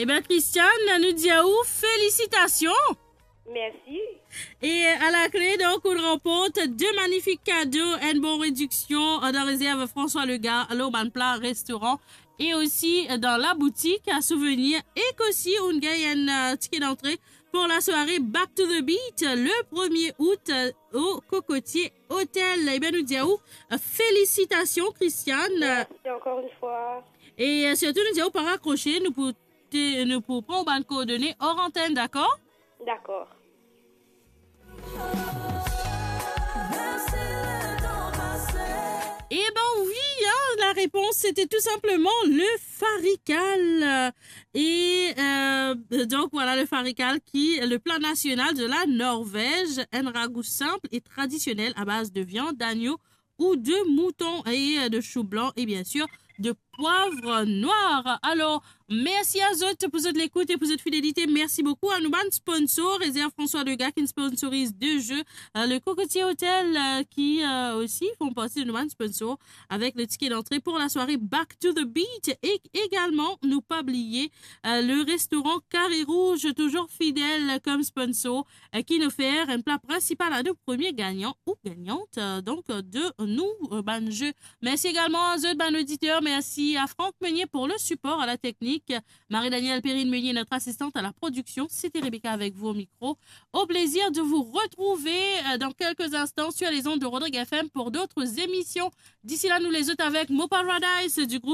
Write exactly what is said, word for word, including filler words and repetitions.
Ebin, Christiane, nou dir ou felisitasion. Mersi. E a la kle, donk, ou ranport de magnifik kado, enn bon rediksion dan rezerv François Legac, lor bann pla restoran, e osi dan la boutik a souvenir, ek osi ou gagn enn, euh, tike dantre pour la soirée Back to the Beat, le premier août, euh, au Cocotier Hotel. Ebin, nou dir ou, euh, felisitasion, Christiane. Mersi ankor enn fwa. E, euh, sirtou, nou dir ou pa rakrose, nou pou te, nou pou pran ou bann koordone or antenn, dakor? Dakor. Ebin wi, hein, la repons, sete tou sinpleman le farical. E, euh, donk, vwala le farical ki le pla nasional de la Norvez, enn ragou sinp e tradisionel a baz de viann, dagno ou de mouton e, euh, de chou blan e, biensir, de pwav nwar. Alor, mersi a zot pou zot lekout e pou zot fidelite. Mersi boukou a nou bann sponsor, Réserve François Legac ki sponsoriz de jeu, euh, le Cocotier Hotel, euh, ki, euh, osi font parti de nou bann sponsor avek le tike dantre pour la soirée Back to the Beat. E egalman, nou pa bliye, euh, le restoran Carré Rouge, touzour fidel kom sponsor, euh, ki nou ofer enn pla prinsipal a nou premie gagnan ou gagnant, euh, donk, euh, de nou, euh, bann jeu. Mersi egalman a zot, bann oditer. Mersi a Franck Meunier pour le support à la technique. Marie-Danielle Perrine Meunier, notre assistante à la production. C'était Rebecca avec vous au micro. Au plaisir de vous retrouver, euh, dans quelques instants sur les ondes de Rodrigue F M pour d'autres émissions. D'ici là, nou les zot avec Mo Paradise du groupe